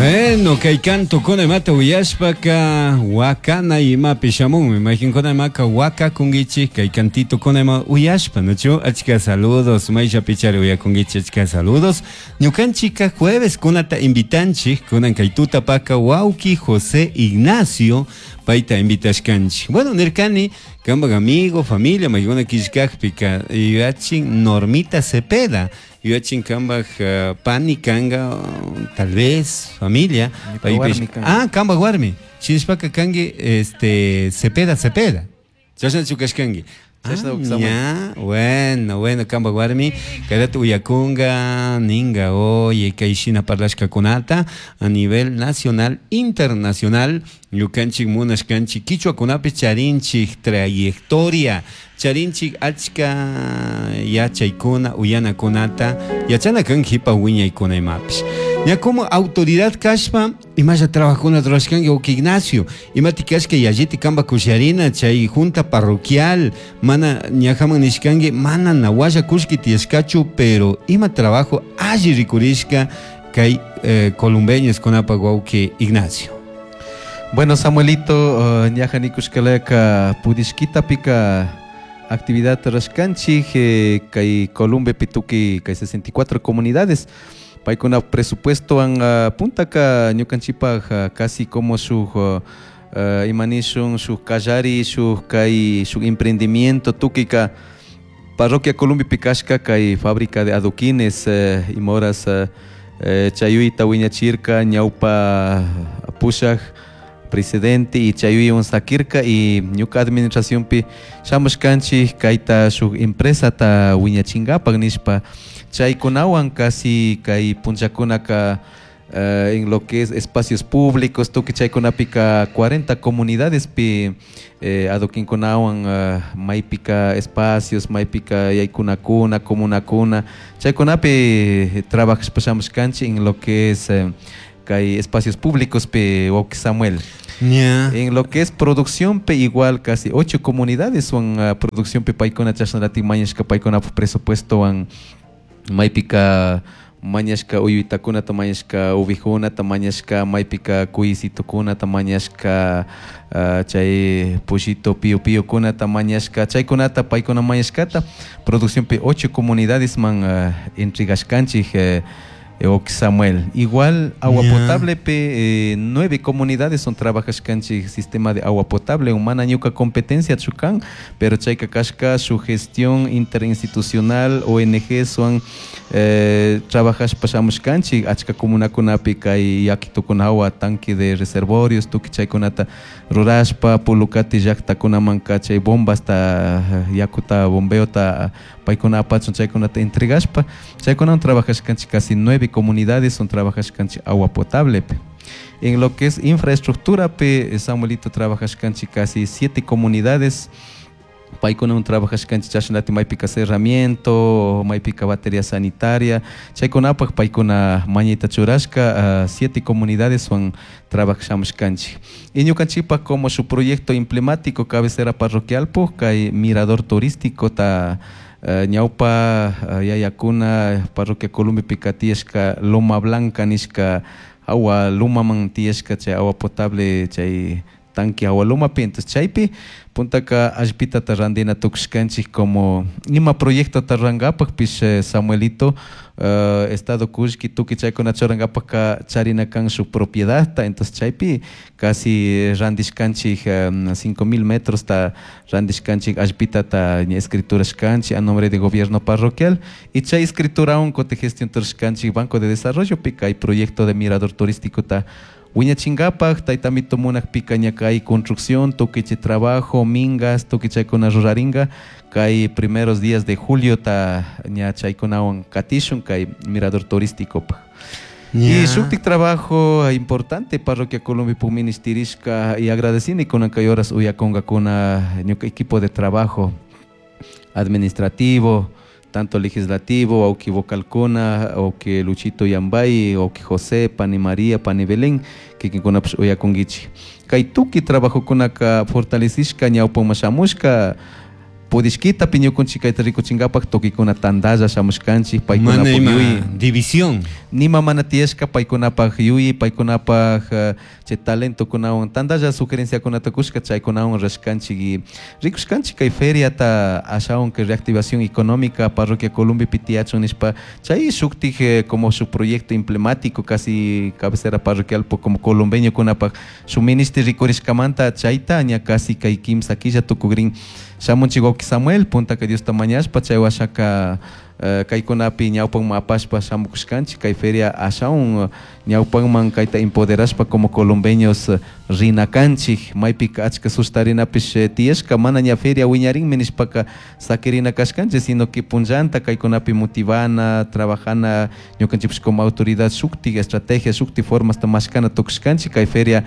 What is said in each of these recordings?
Bueno, kay cantukuna imata uyashpaka wakana imapi shamunmi. Mayqinkuna imaka wakakunkichik kay cantitokuna ima uyashpa, ¿no? Achka saludos, mayllapichari uyakunkichik achka saludos. Ñukanchika jueves kunata invitanchik, kunan kay tutapaka wawki José Ignacio payta invitashkanchik. Bueno, nirkani kanpak amigo, familia, maykuna killkakpika yuyachin Normita Cepeda. Yuyachin kanpak pani kanga, tal vez familia. Paypish, ah, kanpak warmi. Shinashpaka kanki este Cepeda Cepeda. Chashnachu kashkanki. Ah, ña, bueno, bueno, kanpak warmi kayrata uyakunga, ninga, oye, kay shina parlashkakunata a nivel nacional, internacional, ñukanchik munashkanchik kichwakunapi charinchik trayectoria, charinchik achka yachaykuna, uyanakunata, yachana kan jipa wiñaykuna imapish. Ña como autoridad kashpa, imalla trabajokuna rurashkanki wawki Ignacio, imati kashka yalliti kanpak kusharina chay junta parroquial, mana ñajaman nishkanki, mana nawalla kullki tiyashkachu, pero ima trabajo alli rikurishka kay columbeños kunapak wawki Ignacio. Bueno, Samuelito, ñaja nikushkalaka pudishkitapika actividad rashkanchik kay Columbe tukuy kay 64 comunidades paykuna presupuesto an puntaka ñukanchikpak casi como shuk imanishun shuk kallari shuk kay shuk emprendimiento tukuyka parroquia Columbepi kashka kay fábrica de adoquines ima horas chayuyta wiñachirka ñawpa pushak presidente y chayuywan sakirka y ñuka administracionpi shamushkanchik kayta shuk empresata wiñachinkapak nishpa chaykunawan casi kay punllakunaka en lo que es espacios públicos tukuy chaykunapika 40 comunidadespi adoquinkunawan maypika espacios maypika yaykunakuna comunakuna chaykunapi trabajashpa shamushkanchik en lo que es kay espacios públicos pi wawki Samuel. En lo que es producción pe igual casi ocho comunidades son producción pe paykuna chashnalatik mañashka paykunapak presupuestowan maypika mañashka uyuytakunata mañashka ovejunata mañashka maypika cuyisitukunata mañashka chay pollito pío píokunata mañashka chaykunata paykuna mañashkata producción pe ocho comunidades man entregashkanchik wawki Samuel. Igual agua potable pe nueve comunidades son trabajashkanchik sistema de agua potable mana ñuka competencia kan pero chayka kashka su gestión interinstitucional ONG son trabajashpa shamushkanchik achka comunakunapi kay yakitukunawa tanque de reservorios tukuy chaykunata rurashpa Pulukati llaktakunamanka chay bombasta yakuta bombeota paykuna apachun chaykunata entregashpa chaykunawan trabajashkanchik casi nueve comunidades son trabajashkanchik agua potable. En lo que es infraestructura pe Samuelito trabajashkanchik casi siete comunidades paykunawan trabajashkanchik chashnalatik maypika cerramiento maypika batería sanitaria chaykunapak paykuna mañayta churashka siete comunidades wan trabajashamushkanchik y ñukanchikpak como su proyecto emblemático cabecera parroquial kay mirador turístico ta ñawpa yayakuna parroquia Columbepika tiyashka Loma Blanca nishka awa lumaman tiyashka chay agua potable chay tanque agua lumapi. Entonces chaypi puntaka allpitata randina tukushkanchik como ima proyectota rurankapakpish Samuelito estado kullki tukuy chaykuna churankapaka charina kan shuk propiedadta. Entonces chaypi casi randishkanchik 5000 metrosta randishkanchik allpitata ña escriturashkanchik a nombre de gobierno parroquial y chay escriturawan kutin gestión rurashkanchik Banco de Desarrollo pi kay proyecto de mirador turístico ta wiñachinkapak taytamito munakpika ña kay construcción tukuy chay trabajo mingas tukuy chaykuna rurarinka kay primeros días de julio ta ña chaykunawan katishun kay mirador turísticopak. Y shuktik trabajo importante parroquia Columbia ministerishka y agradecini kunan kay horas uyakunkakuna ñuka equipo de trabajo administrativo tanto legislativo, wawki vocalkuna, wawki Luchito Yambay, wawki José, pani María, pani Belén, kikinkunapish uyakunkichik. Kay tukuy trabajokunaka fortalecishka ñawpaman shamushka. Pudishkitapi ñukunchik kayta rikuchinkapak tukikuna tantalla shamushkanchik Mana paykunapak ima yuyi división. Nima mana tiyashka paykunapak yuyi paykunapak chay talentokunawan tantalla sugerenciakunata kushka chaykunawan rashkanchik y rikushkanchik kay feriata ashawan kay reactivación económica parroquia Columbepi tiyachun nishpa chay shuktik como shuk proyecto emblemático casi cabecera parroquial como colombeñokunapak shuk ministri rikurishkamanta chayta ña casi kay kimsa killa tukukrin shamunchik wawki Samuel puntaka Diosta mañashpa chay washaka kaykunapi ñawpanman apashpa shamukushkanchik kay feria ashawan ñawpanman kayta empoderashpa como colombeños rina kanchik maypika achka sustarinapish tiyashka mana ña feria wiñarinmi nishpaka sakirina kashkanchik sino que punllanta kaykunapi motivana trabajana ñukanchikpish como autoridad shuktik estrategia shuktik formasta mashkana tukushkanchik kay feria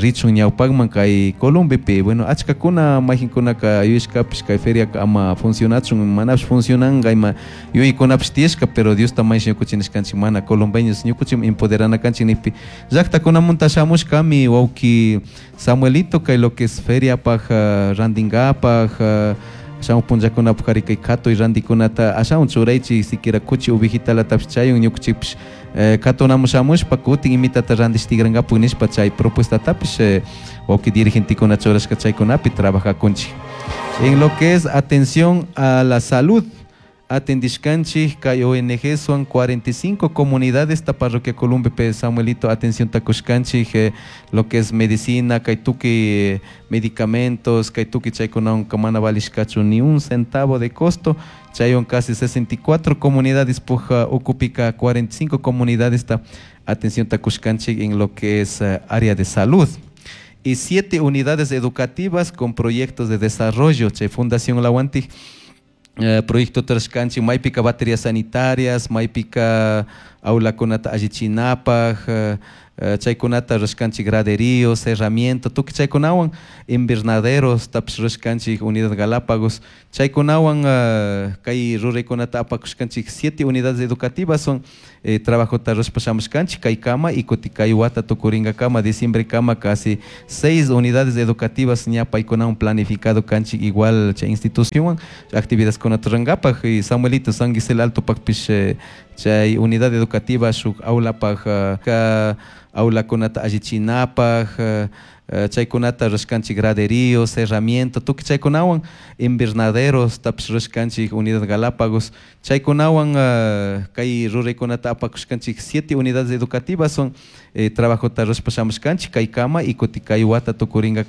richun ñawpakman kay Columbepi. Bueno, achkakuna mayjinkunaka yuyashkapish kay feriaka ama funcionachun manapish funcionanka ima yuyaykunapish tiyashka pero Diosta mañash ñukuchik nishkanchik mana colombeños ñukuchik empoderana kanchik nijpi llaktakunamunta shamushkami wawki Samuelito kay lo que es feriapaj rantinkapak shamuj punllakunapak ari kay katuy rantikunata ashawan churaychik siquiera kuchi ovejitalatapish chayun ñukuchikpish katunamun shamushpa kutin imitata rantish tigrankapak nishpa chay propuestatapish wawki dirigentekuna churashka chaykunapi trabajakunchik. En lo que es atención a la salud, atendishkanchik kay ONG son 45 comunidades esta parroquia Columbe Samuelito atención takushkanchik lo que es medicina kay tukuy medicamentos kay tukuy chaykunawan mana valishkachu ni un centavo de costo chaywan casi 64 comunidades puja ukupika 45 comunidades ta atención takushkanchik en lo que es área de salud y 7 unidades educativas con proyectos de desarrollo chay Fundación Lawantik proyecto trashkanchik maypika baterías sanitarias maypika aulakunata allichinapaj chaykunata rashkanchik graderíos herramienta tukuy chaykunawan invernaderos tapish rashkanchik unidad Galápagos chaykunawan kay ruraykunata apakushkanchik 7 unidades educativas son trabajota rurashpa shamushkanchik kay kama y kutin kay wata tukurinkakama diciembre kama casi 6 unidades educativas ña paykunawan planificado kanchik igual chay institucionwan actividades kunata rurankapak y Samuelito San Gisela Alto pakpish chay unidad educativa shuk aulapaj ka aulakunata allichinapaj chaykunata rashkanchik graderíos herramienta tukuy chaykunawan invernaderos tapish rashkanchik unidad Galápagos chaykunawan kay ruraykunata apakushkanchik 7 unidades educativas son trabajota rurashpa shamushkanchik kay kama y kutin kay wata tukurinkakama.